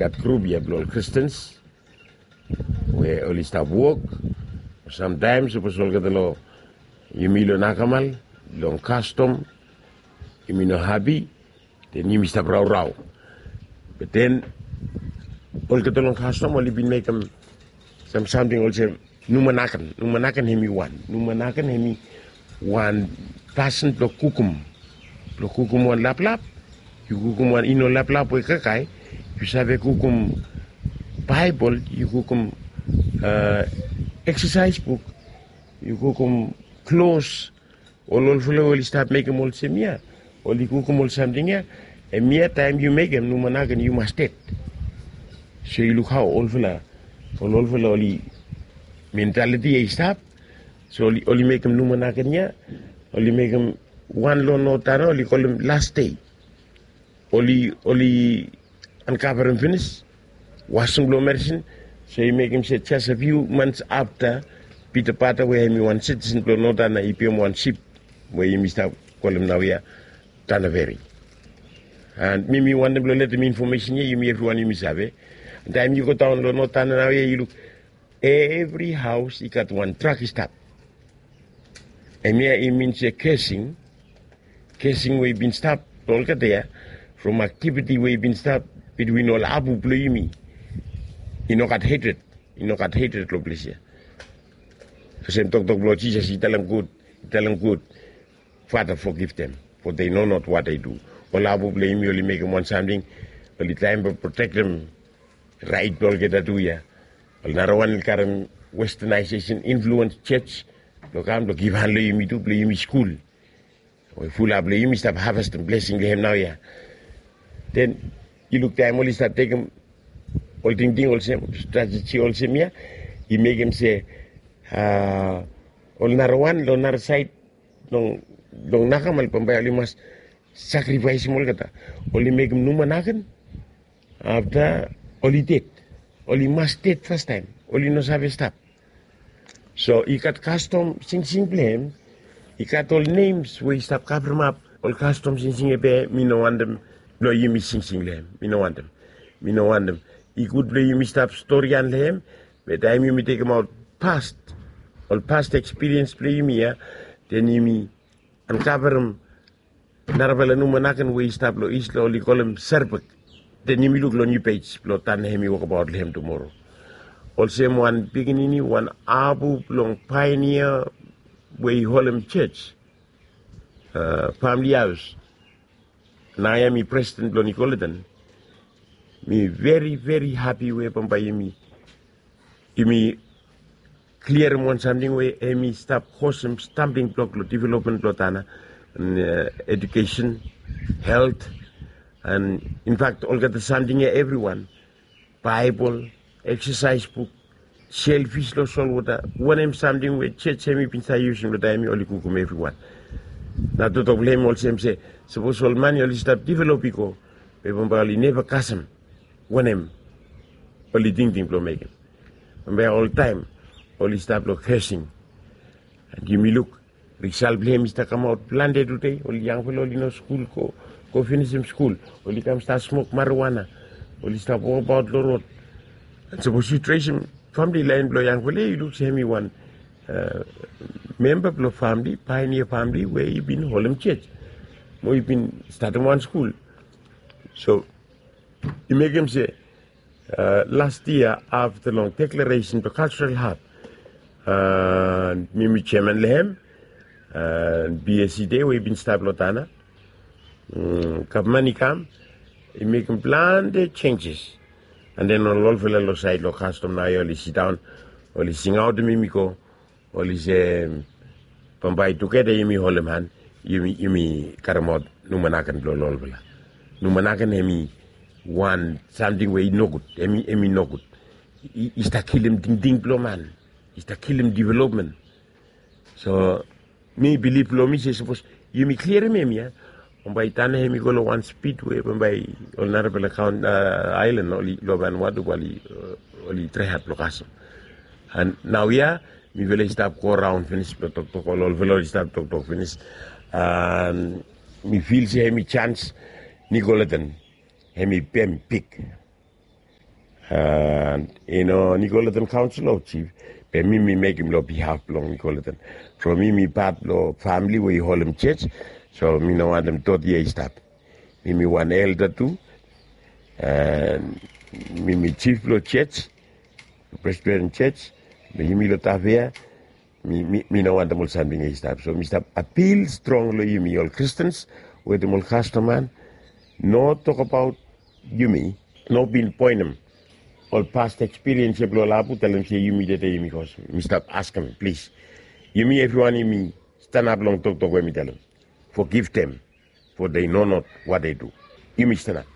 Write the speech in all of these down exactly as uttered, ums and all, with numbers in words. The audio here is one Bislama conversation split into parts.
Gat grup ya blong ol Kristens we oli stap wok. Samtaem sapos olgeta long yumi long nakamal, long kastom, yumi no hapi, den yumi stap raorao. Be den olgeta long kastom oli bin mekem sam samting olsem numanaken. Numanaken hemi wan, numanaken hemi wan pasin blong kukum, blong kukum wan laplap. Yu kukum wan ino laplap we kakae, yu save kukum Baebol, yu kukum eksasaes buk, yu kukum klos. Ol olfala we oli stap mekem olsem ya, oli kukum ol samting ya. Hemia taem yu mekem numanaken yu mas ded. So yu luk hao olfala, ol olfala oli mentaliti ya i stap. So oli mekem numanaken ya, oli mekem wan long notana oli kolem las dei. Oli oli ankavarem finis wasing blong merisin. So i mekem se jes a fiu mans afta Pita Pata we hemi wan sitisen blong notana i biam wan sip we yumi stap kolem naoia Tanaveri. And mi mi wantem blong letem infomesen ya yumi evriwan yumi save. Taem yu go daon long notana naoia yu luk evri haos i gat wan trak i stap. Hemia i min se kesing kesing we i bin stap long olgeta ya from aktiviti we i bin stap bitwin ol abu blong yumi. I no gat hetred, i no gat hetred long ples ya. Olsem toktok blong Jisas i talem gud, i talem gud, Fada, fogiv dem, fo dei no not wat dei du. Ol abu blong yumi oli mekem wan samting, oli traem blong protektem raet blong olgeta tu ya. Ol narawan oli karem westanaesesen influens jos blong kam blong givhan long yumi tu blong yumi skul. We fulap long yumi stap havestem blesing long hem naoia. Den yu luk taem oli stap tekem ol tingting olsem, strateji olsem ya, i mekem se ol narawan long nara saed long nakamal bambae oli mas sakrifaesem olgeta. Oli mekem numanaken afta oli ded. Oli mas ded fastaem, oli no save stap. So i gat kastom singsing blong hem. I gat ol nems we i stap kavremap ol kastom singsing ya be mi no wantem blong yumi singsing long hem. Mi no wantem. Mi no wantem. I gud blong yumi stap storian long hem. Be taem yumi tekemaot past, ol past ekspiriens blong yumi ya, den yumi ankavarem narafala numanaken we i stap long is long oli kolem serbek. Den yumi luk long niu pej blong tan hem i wokbaot long hem tumoro. Olsem wan pikinini wan abu blong paenia we i holem jos, famili haos. Naoia mi presiden blong Nicolaitan. Mi veri veri hapi we bambae yumi yumi kliarim wan samting we hemi stap kosem stambling blok long developmen blong Tanna. Edukesen, helt, an infakt olgeta samting ya evriwan, Baebol, eksasaes buk, selfis long solwota, wanem samting we jos hemi bin save yusum long taem ya oli kukum evriwan. Nao toktok blong hem olsem se sapos ol man ya oli stap develop i go, be bambae oli neva kasem wanem oli tingting blong mekem. Bambae oltaem oli stap long kesing. An yumi luk risal blong hem i stap kamaot plante tude. Ol yangfala oli no skul go go finisim skul, oli kam stap smok mariwana, oli stap wokbaot long rod. An sapos yu tresem famili laen blong yangfala ya yu luk se hem i wan memba blong famili, paenia famili we i bin holem jos mo i bin statem wan skul. So i mekem se las yia afta long deklaresen blong kalsral hab, mi mi jeman long hem, bsd we i bin stap long Tanna, gavman i kam, i mekem plante jenjes. An den ol olfala long saed long kastom naoia oli sidaon, oli singaotem yumi go, oli se bambae tugeta yumi holem han, yumi karemaot numanaken blong ol olfala. Numanaken hemi wan samting we i nogud, hemi nogud. I stap kilim tingting blong man, i stap kilim developmen. So mi bilif long mi se sapos yumi kliarim hemia, bambae Tanna hemi go long wan spid we bambae ol narafala kaon aelan long Vanuatu oli trae had blong kasem. An naoia mifala i stap go raon finis blong toktok, ol olfala oli stap toktok finis. An mi fil se hemi jans Nicolaitan hemi bem big. And i no Nicolaitan Council o Chief, be mi mi mekem long bihaf blong Nicolaitan. So mi mi pat blong famili we i holem church. So mi no wantem dot ia i stap. Mi mi wan elda tu. And mi mi chief blong church, Presbyterian Church. Be yumi long Tafea, mi mi mi no wantem ol samting ia i stap. So mi stap apil strong long yumi ol Kristens wetem ol kastom man. No tokbaot yumi, no pinpoenem ol past ekspiriens ia blong ol apu talem se yumi dede yumi kos. Mi stap askem plis, yumi evriwan yumi stanap long toktok we mi talem. Forgive them, for they know not what they do. Yumi stanap,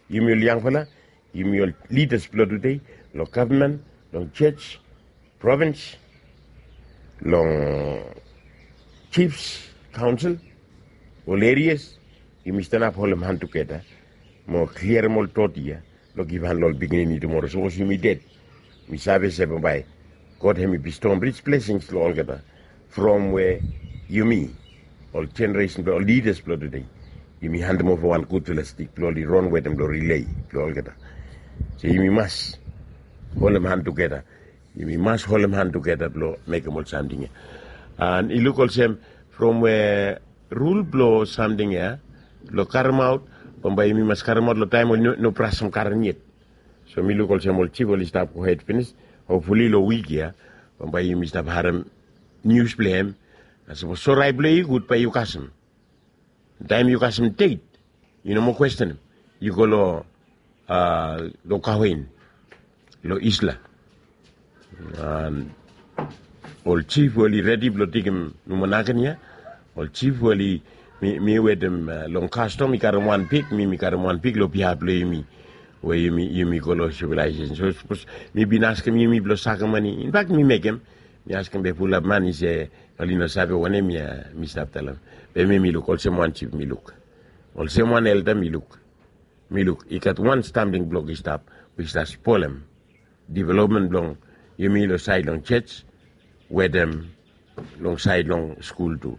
yumi ol yangfala, yumi ol lidas blong tude, long gavman, long church, provins, long chiefs, kaunsil, ol erias, yumi stanap holem han tugeta mo kliarem ol dot ia long givhan long ol pikinini tumora sapos yumi ded. Mi save se bambae God hemi bestow rich blessings long olgeta from we yumi ol jeneresen blong ol lidas blong tude yumi handem ova wan gudfala stik blong oli ron wetem long rilei blong olgeta. So yumi mas holem han tugeta. Yumi mas holem han tugeta blong mekem ol samting ya. And i luk olsem from we rul blong samting ya blong karemaot, bambae yumi mas karemaot long taem oli no brasem karen yet. So mi luk olsem ol jif oli stap gohed finis. Hopfuli long wik ya bambae yumi stap harem nius blong hem. Na sapos sorai blong yu i gud bae yu kasem. Taem yu kasem det yu no moa kwestenem. Yu go long kawen long Isla. Ol jif we oli redi blong tekem nomo naken ya. Ol jif we oli mi wetem long kastom i karem wan pik, mi mi karem wan pik long bihaf blong yumi we yumi go long sivelaesesen. So sapos mi bin askem yumi blong sakem mane, infak mi mekem. Mi askem be fulap man i se oli no save wanem ya mi stap talem. Be mi mi luk olsem wan jif mi luk. Olsem wan elda mi luk. Mi luk i gat wan stamting blok i stap we i stap spolem developmen blong yumi long saed long joj wetem long saed long skul tu.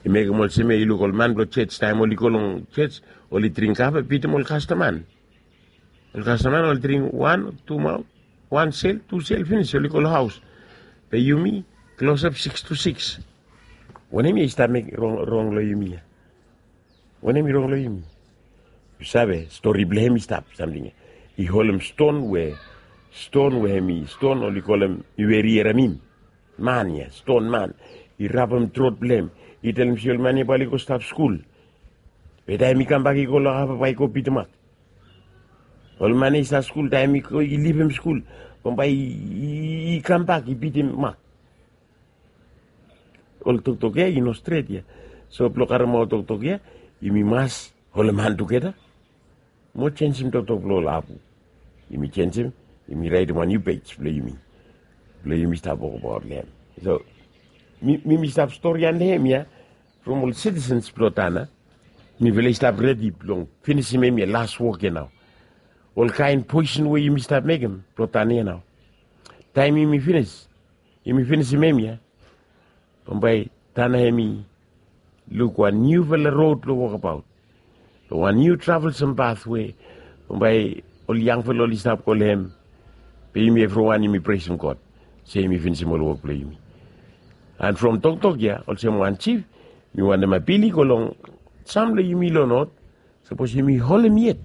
I mekem olsem ya i luk ol man blong joj taem oli go long joj oli dring kafe bitim ol kastaman. Ol kastaman oli dring wan tu maot, wan sel tu sel finis oli go long haos. Be yumi klosap siks tu siks. Wanem ya i stap mekem rong long yumi ya? Wanem i rong long yumi? Yu save stori blong hem i stap samting ya. I holem ston we ston we hem i ston oli kolem i weri eramim. Man ya ston man i rapem trot blong hem. I talem se ol man ya bae oli go stap skul. Be taem i kambak i go long hava bae i go bitim mak. Ol man ya i stap skul taem i go i livim skul bambae i kambak i bitim mak. Ol toktok ya i no stret ya. So blong karemaot toktok ya yumi mas holem han tugeta mo jenjem toktok blong ol apu. Yumi jenjem, yumi raetem wan niu pej blong yumi blong yumi stap wokabaot long hem. So mi mi stap stori ante hem ya from ol sitisens blong tana. Mifala i stap redi blong finisim hem ya las wok ya nao. Ol kaen poesen we yumi stap mekem blong tana ya nao. Taem yumi finis yumi finisim hem ya bambae tana hem i luk wan niufala rod blong wokabaot. Long wan niu travelsem bat we bambae ol yangfala oli stap go long hem. Be yumi evriwan yumi presem God se yumi finisim ol wok blong yumi. And from toktok ya olsem wan jif mi wantem apil i go long sam long yumi long not. Sapos yumi holem yet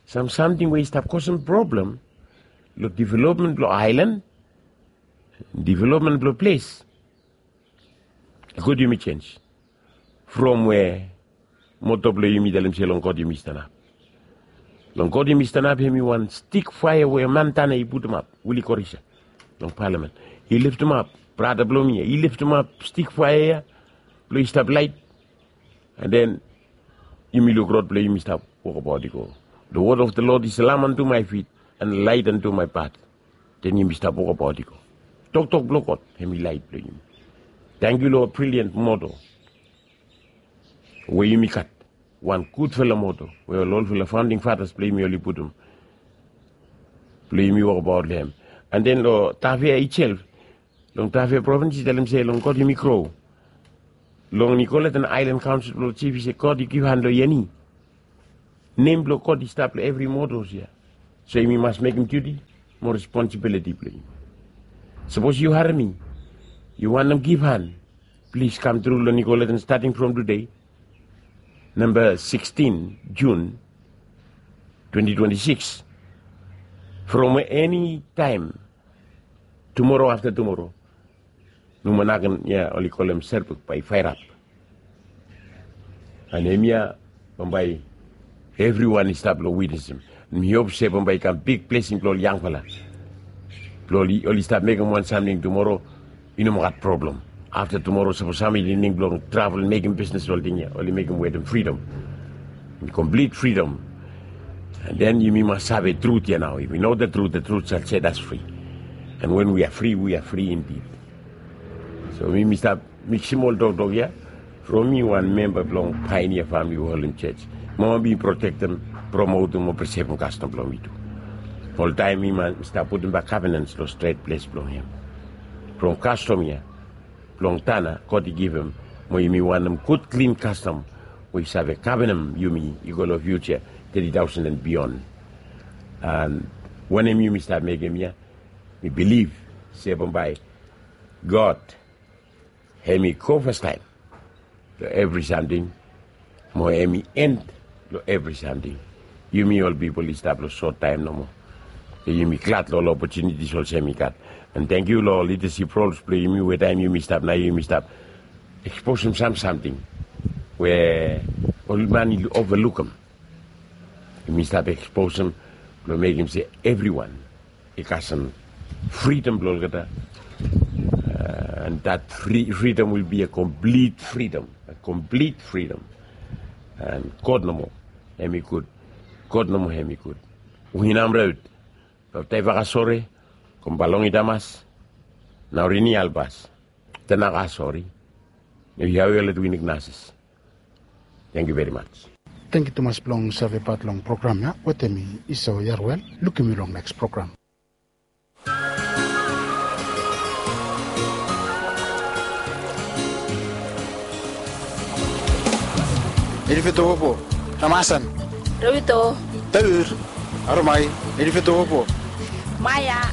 sam samting we i stap kosem problem long developmen blong aelan, developmen blong ples, i gud yumi jenj from we moto blong yumi talem se long God yumi stanap. Long God yumi stanap hem i wan stik faea we man tana i putumap, Willie Korisa, long palamen. I liftimap brata blong mi ya i liftimap stik faea ya blong i stap laet. And then yumi luk rod blong yumi stap wokabaot i go. The word of the Lord is a lamp unto my feet and a light unto my path. Then yumi stap wokabaot i go. Toktok blong God hem i laet blong yumi. Tangkiu long ol brilian moto we yumi gat, wan gudfala moto we ol olfala faonding fatas blong yumi oli putum blong yumi wokabaot long hem. And then long Tafea itself, long Tafea provins i talem se long God yumi gro. Long Nicolaitan Aelan Kaonsel blong Jif i se God i givhan long yeni. Nem blong God i stap long evri motos ya. So yumi mas mekem diuti mo responsibiliti blong yu. Sapos yu harem mi, yu wantem givhan, plis kam tru long Nicollet, stating from tude, namba sikstin Jun twenti twenti sikis, from eni taem tumoro afta tumoro, nomo naken ya oli kolem Serbuk bae i faerap. An hemia bambae evriwan i stap long witnesem. Mi hop se bambae i kam big blesing blong ol yangfala, blong oli, oli stap mekem wan samting tumoro, i no moa gat problem. Afta tumoro sapos sam i lining blong travel mekem bisnes, ol ting ya oli mekem wetem fridom, komplit fridom. An den yumi mas save trut ya nao. If we know the truth, the truth shall set us free. And when we are free, we are free indeed. So mi, mi stap miksem ol toktok ya from mi wan memba blong Pioneer Famili Holem Jos. Mo mi protektem, promotem mo presevem kastom blong mi tu. Oltaem mi mas stap putum bak kavenans long stret ples blong hem. From kastom ya blong Tana, God i givim, mo yumi wantem gud klin kastom we i save kavenem yumi i go long fiuja, teti taosen and beyond. An wanem yumi stap mekem ya, mi bilif se bambae God hem i go fastaem long evri samting, mo hem i end long evri samting. Yumi ol pipol i stap long sot taem nomo. So yumi glad long ol opotunitis olsem i gat. An tangkiu long lidasip rols blong yumi, we taem yumi stap nao yumi stap eksposem sam samting we ol man i ovalukem. Yumi stap eksposem blong mekem se evriwan i kasem fridom blong olgeta. An that free, freedom will be a complete freedom, a complete freedom. An God nomo hem i gud. God nomo hem i gud. Uhinam raut. Baptae vakasore, kombalongi damas, nao rini albas. Tenaka sori. Yahweh let winik nasis. Thank you very much. Tangkiu tumas blong save pat long program ya wetem mi, Isao Yarwel. Lukim yu long neks program. Elifetopo, Ramasan, Rawito, Taur, Aromai, Elifetopo, Maya,